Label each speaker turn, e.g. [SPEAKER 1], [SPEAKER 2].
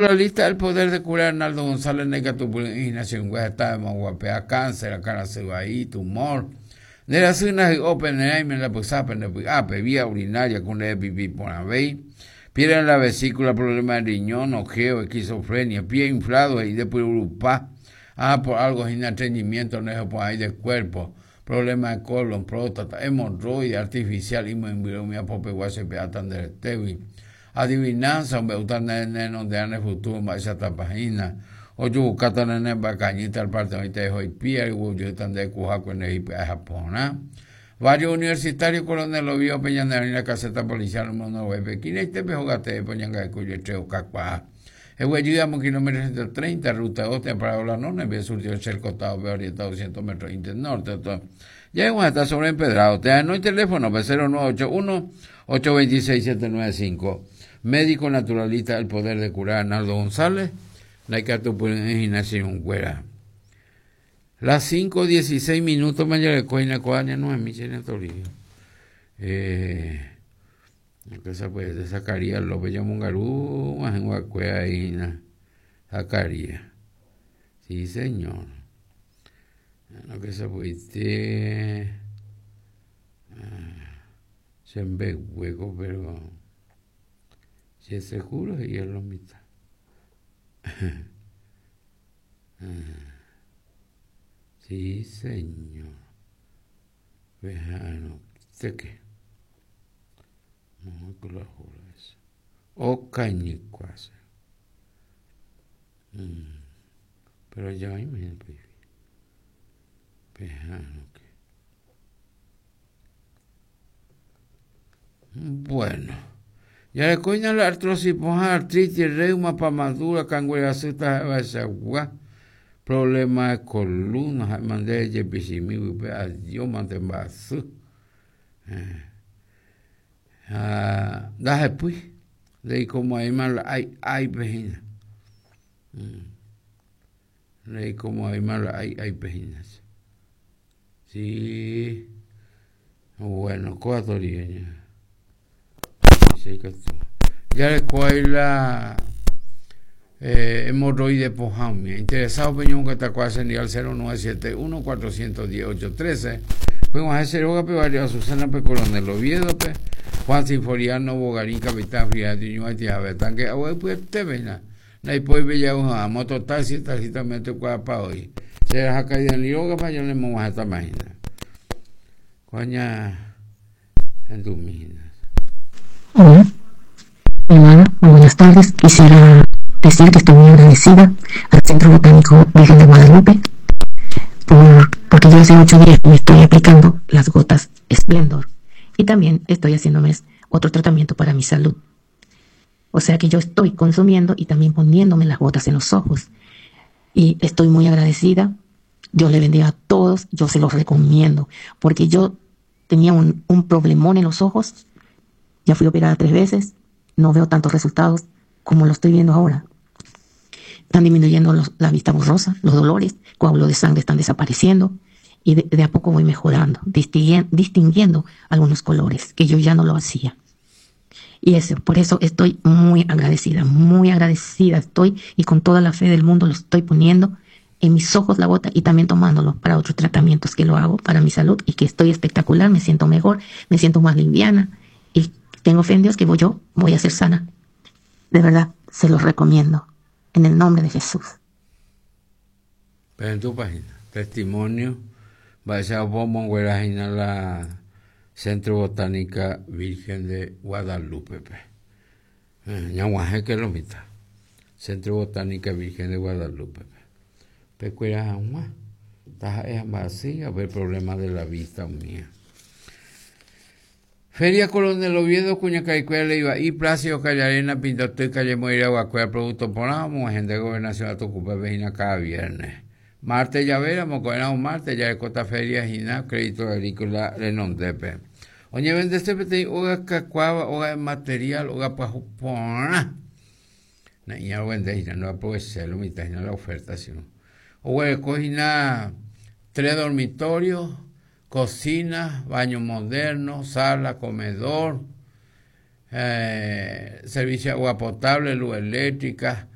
[SPEAKER 1] La lista del poder de curar Arnaldo González ndaikatupyry'ỹ hína che rũngue heta emoguapea cáncer, akãrasy vai, tumor. Nde rasy ndahy'ópe ne rãime ndapysápe nde py'ápe, vía urinaria ku nde pipi porãvéi, piedra en la vesícula, problema de riñón, ojeo, esquizofrenia, pie inflado he'i nde pyrurupa, ah por algo hína estreñimiento ndehopo'ãi de cuerpo, problema de colon, próstata, hemorroide, artificial imoĩmbyre umi apopegua che pe'áta nde retégui. Adivinanza, ombe'úta ne renonderã ne futuro mba'éichatapa hína. Ojuvukáta ne nemba'ekañýta al parte oĩta eho ipíare oguejýta nde kuhákue nde ipy'aeha porã. Barrio Universitario Coronel Oviedo pe ñane oĩ la caseta policial omonogue pe Quinaitépe hóga teépe oñangareko ijetre okakuaa. Eguejy amo kilómetro 130 ruta 2 térã Parábola Nona envía surtido Cerco Tao-pe orienta 200 metros inte norte oto ja'eg̃uahẽta sobre empedrado térã enói teléfono-pe 0981 826 795 Médico naturalista El Poder de Curar Arnaldo González ndaikatupyry'ỹ hína che irũnguéra. Las 5:16 minutos ma jareko hína ko aña Noemí che Toribio. Eh, Esa pues de Zacarías López jamongaru og̃uahẽva'ekue ahí hína Zacarías. Sí, señor. Lo que se puede che mbeguéko pero che seguro he'i lo mitã. Sí, señor. Peha'arõitéke. Moõiko la hora esa. Okañykuase. Mm. Pero ya oĩma hína pe Peha'arõke. Bueno. Jarekóina la artrosis pohã, artritis, reuma, pamadura, kangue rasy taha'evaichagua, problema de columna, ha'éma nde jepichimi pype adio mante mba'asy. Ha ndahepýi, ndeikomo'ãvéima la ái áipe hína. Ndeikomo'ãvéima la ái áipe hína. Sí. Bueno, kóva torieña. Jareko ahí la eh, hemorroide pohã umi. Interesado pe ñomongetakuaa che ndive al 0971 410 813. Peg̃uahẽ che rógape barrio Azucena pe Coronel Oviedo-pe. Juan Sinforiano Bogarín Capitán Fidel Ñuatĩ jave tanque agua ypyetépe hína. Ndaipói pe ja'u hag̃ua mototaxi, taxi también toikuaapa oĩ. Che raha Dani rógape ha ñanemog̃uahẽtama hína. Ko'ág̃a hendumi hína.
[SPEAKER 2] Hola, hermana, muy buenas tardes. Quisiera decir que estoy muy agradecida al Centro Botánico Virgen de Guadalupe por, porque yo hace ocho días me estoy aplicando las gotas Splendor y también estoy haciéndome otro tratamiento para mi salud. O sea que yo estoy consumiendo y también poniéndome las gotas en los ojos. Y estoy muy agradecida. Dios le bendiga a todos. Yo se los recomiendo. Porque yo tenía un, un problemón en los ojos. Ya fui operada tres veces. No veo tantos resultados como lo estoy viendo ahora. Están disminuyendo los, la vista borrosa, los dolores, coágulos de sangre están desapareciendo y de, de a poco voy mejorando, distinguiendo, distinguiendo algunos colores que yo ya no lo hacía. Y eso, por eso estoy muy agradecida, muy agradecida estoy y con toda la fe del mundo lo estoy poniendo en mis ojos la gota y también tomándolo para otros tratamientos que lo hago para mi salud y que estoy espectacular, me siento mejor, me siento más liviana y tengo fe en Dios que voy yo voy a ser sana. De verdad, se los recomiendo. En el nombre de Jesús.
[SPEAKER 1] Pero en tu página, testimonio, mba'éichapa omonguera hína la Centro Botánica Virgen de Guadalupe-pe. Ñag̃uahẽke lo mitã. Centro Botánica Virgen de Guadalupe-pe. Pekuera hag̃ua, taha'e ha mba'asy ha pe problema de la vista umía. Feria Coronel Oviedo, kuñakaikuéra Leiva'i, Plácido Callarena, Pintoty, calle Moiragua-kuéra producto porã omog̃uahẽnte Gobernación Atukupe-pe hína cada viernes. Martes javéramo, ko'ẽramo martes jarekóta feria hína Crédito Agrícola renondépe. Oñevendese peteĩ óga kakuaáva, óga de material, óga pyahu porã. Na'iña ovende hína, no aproveché lo mitã hína la oferta, sino. Oguereko hína tres dormitorios, cocina, baño moderno, sala, comedor, eh, servicio de agua potable, luz eléctrica.